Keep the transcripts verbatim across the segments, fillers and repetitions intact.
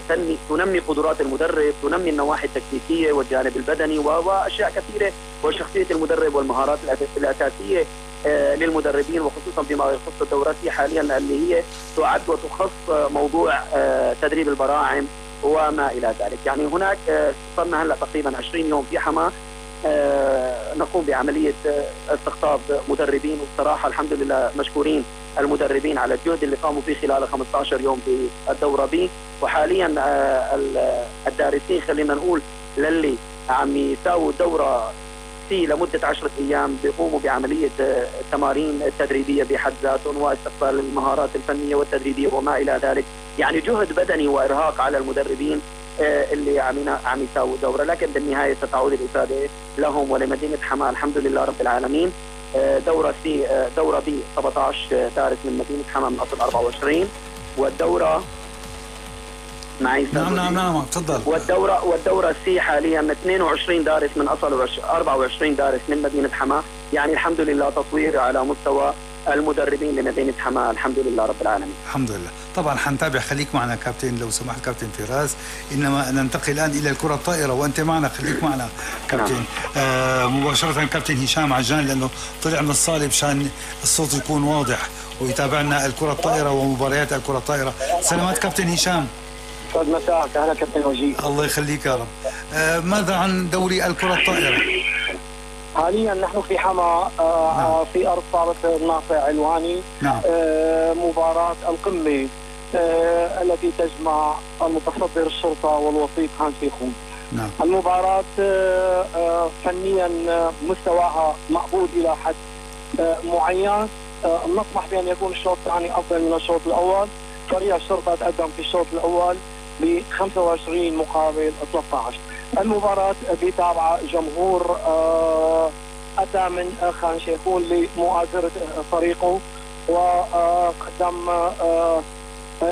تنمي تنمي قدرات المدرب، تنمي النواحي التكتيكيه والجانب البدني واشياء كثيره، وشخصيه المدرب والمهارات الاساسيه للمدربين، وخصوصا بما يخص الدورات حاليا اللي هي تعد وتخص موضوع تدريب البراعم وما الى ذلك. يعني هناك صرنا هلا تقريبا عشرين يوم في حماه نقوم بعمليه استقطاب مدربين، والصراحه الحمد لله مشكورين المدربين على الجهد اللي قاموا فيه خلال خمسة عشر يوم في الدوره بي. وحاليا الدارسين خلينا نقول للي عم يساووا الدوره في لمده عشرة ايام بيقوموا بعمليه تمارين تدريبيه بحد ذاتهم واستقبال المهارات الفنيه والتدريبيه وما الى ذلك. يعني جهد بدني وارهاق على المدربين اللي عم عم يساووا دوره، لكن بالنهايه ستعود الافاده لهم ولمدينه حماه الحمد لله رب العالمين. دوره سي دوره بي سبعة عشر دارس من مدينه حماه من اصل أربعة وعشرين، والدوره معي نعم نعم نعم تفضل. والدوره والدوره سي حاليا اثنين وعشرين دارس من اصل أربعة وعشرين دارس من مدينه حماه. يعني الحمد لله تطوير على مستوى المدربين لمدينه حماه الحمد لله رب العالمين. الحمد لله. طبعا حنتابع، خليك معنا كابتن لو سمحت كابتن فراس. انما ننتقل الان الى الكره الطائره وانت معنا، خليك معنا كابتن. نعم. آه مباشره كابتن هشام عجان لانه طلع من الصاله مشان الصوت يكون واضح ويتابعنا الكره الطائره ومباريات الكره الطائره. سلامات كابتن هشام. يسعد مساك. اهلا كابتن وجيه. الله يخليك يا رب. آه ماذا عن دوري الكره الطائره؟ حاليا نحن في حما آه نعم. في ارض صالة الناصع علواني. نعم. آه مباراة القمة آه التي تجمع المتصدر الشرطة والوسيط خان شيخون. نعم. المباراة آه آه فنيا مستواها مقبول الى حد آه معين. آه نطمح بان يكون الشوط الثاني افضل من الشوط الاول. فريق الشرطة تقدم في الشوط الاول ب خمسة وعشرين مقابل ثلاثة عشر. المباراة بيتابعها جمهور آه أتى من خان شيخون لمؤازرة فريقه، وقدم آه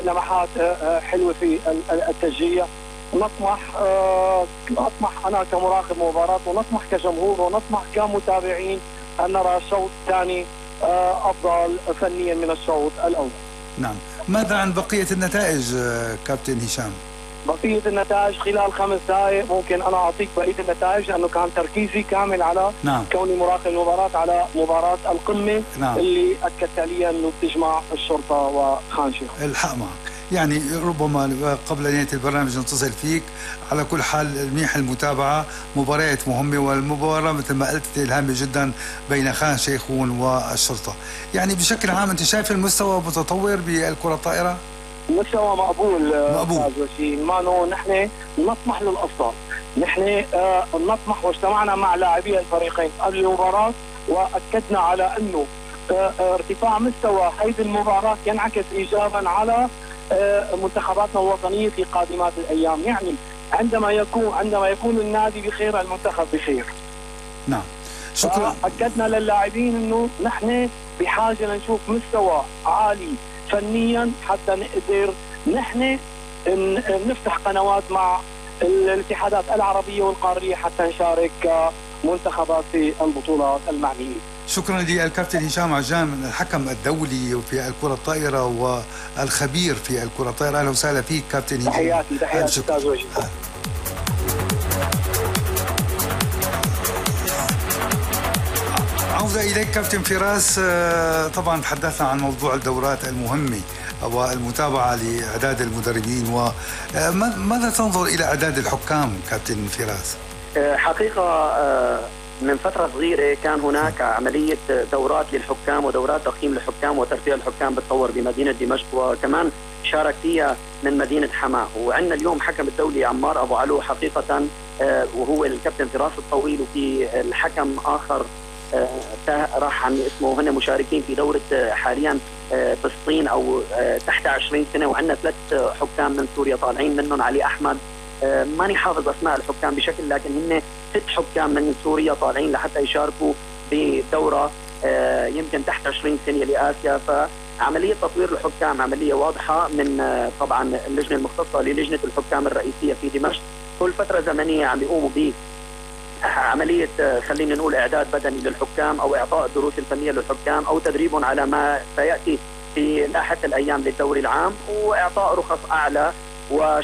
لمحات آه حلوة في التشجيع. نطمح آه نطمح أنا كمراقب مباراة، ونطمح كجمهور، ونطمح كمتابعين أن نرى الشوط الثاني آه أفضل فنيا من الشوط الأول. نعم. ماذا عن بقية النتائج كابتن هشام؟ بقية النتائج خلال خمس دقائق ممكن أنا أعطيك بقية النتائج، لأنه كان تركيزي كامل على نعم. كوني مراقب المباراة على مباراة القمة. نعم. اللي أكدت لي أنه بتجمع الشرطة وخان شيخون. الحق معك. يعني ربما قبل نهاية البرنامج نتصل فيك. على كل حال منيح المتابعة، مباريات مهمة، والمباراة مثل ما قلت الهامة جدا بين خان شيخون والشرطة. يعني بشكل عام أنت شايف المستوى متطور بالكرة الطائرة؟ مستوى مقبول مقبول. ما نو نحن نطمح للأفضل. نحن آه نطمح، واجتمعنا مع لاعبي الفريقين قبل المباراة وأكدنا على أنه آه ارتفاع مستوى هذه المباراة ينعكس إيجابا على آه منتخباتنا الوطنية في قادمات الأيام. يعني عندما يكون عندما يكون النادي بخير المنتخب بخير. نعم. شكرا. أكدنا للاعبين أنه نحن بحاجة لنشوف مستوى عالي فنيا حتى نقدر نحن نفتح قنوات مع الاتحادات العربية والقارية حتى نشارك منتخبات في البطولات المعنية. شكرا للكابتن هشام عجان الحكم الدولي في الكرة الطائرة والخبير في الكرة الطائرة. أهلا وسهلا فيك كابتن هشام. تحياتي تحياتي أستاذ وجيه. عودة إليك كابتن فراس. طبعا تحدثنا عن موضوع الدورات المهمة والمتابعة لإعداد المدربين، وماذا تنظر إلى إعداد الحكام كابتن فراس؟ حقيقة من فترة صغيرة كان هناك عملية دورات للحكام ودورات تقييم الحكام وترفيه الحكام بتطور بمدينة دمشق، وكمان شارك فيها من مدينة حماه. وعندنا اليوم حكم الدولي عمار أبو علو حقيقة، وهو الكابتن فراس الطويل، وفي الحكم آخر راح عن اسمه. هن مشاركين في دورة حاليا فلسطين أو تحت عشرين سنة، وعندنا ثلاث حكام من سوريا طالعين، منهم علي أحمد. ماني حافظ أسماء الحكام بشكل، لكن هن ست حكام من سوريا طالعين لحتى يشاركوا بدورة يمكن تحت عشرين سنة لآسيا. فعملية تطوير الحكام عملية واضحة من طبعا اللجنة المختصة للجنة الحكام الرئيسية في دمشق. كل فترة زمنية عم يقوموا ب عملية خلينا نقول إعداد بدني للحكام، أو إعطاء الدروس الفنية للحكام، أو تدريبهم على ما سيأتي في لاحقة الأيام للدوري العام، وإعطاء رخص أعلى و